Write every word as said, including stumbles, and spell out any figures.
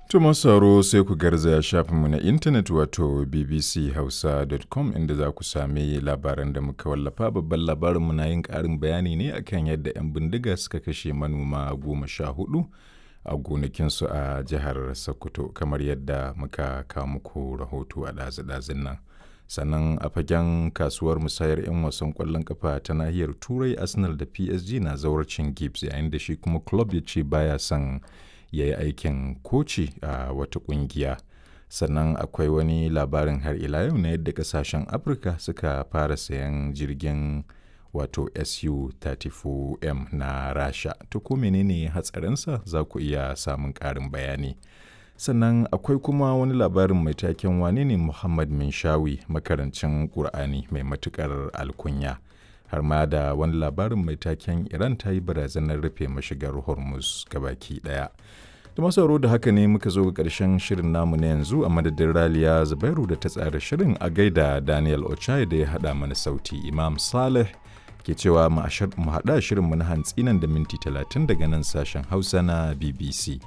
To masu sauraro, sai ku garzaya shafinmu na intanet wato b b c hausa dot com, inda za ku sami labaran da muka wallafa. Babban labarinmu na yin ƙarin bayani ne akan yadda 'yan bindiga suka kashe manoma goma sha hudu a gonakinsu a jihar Sokoto, kamar yadda muka kawo muku rahoto a ɗazu-ɗazun nan. Sannan a fagen kasuwar musayar 'yan wasan ƙwallon kafa ta nahiyar Turai, Arsenal da P S G na zawarcin Gibbs, yayin da shi kuma club ya ce baya son ya yi aikin koci a wata kungiya. Sannan akwai wani labarin har ila yau na yadda kasashen Afirka suka fara sayan jirgin wato S U talatin da huɗu M na Rasha. To, ko menene hatsarinsa? Za ku iya samun ƙarin bayani. Sannan akwai kuma wani labarin mai taken "Wane ne Muhammad Minshawi, makarancin Ƙur'ani mai matuƙar alkunya?" Har ma da wani labarin mai taken "Iran ta yi barazanar rufe mashigar Hormuz gabaki ɗaya". Da masu sauraro, da haka ne muka zo ga ƙarshen shirin namu na yanzu. A madadin Raliya Zubairu da ta tsara shirin, a gaida Daniel Ochai da ya haɗa mana sauti. Imam Saleh ke cewa mu haɗa shirinmu na hantsi nan da minti talatin daga nan sashen Hausa na B B C.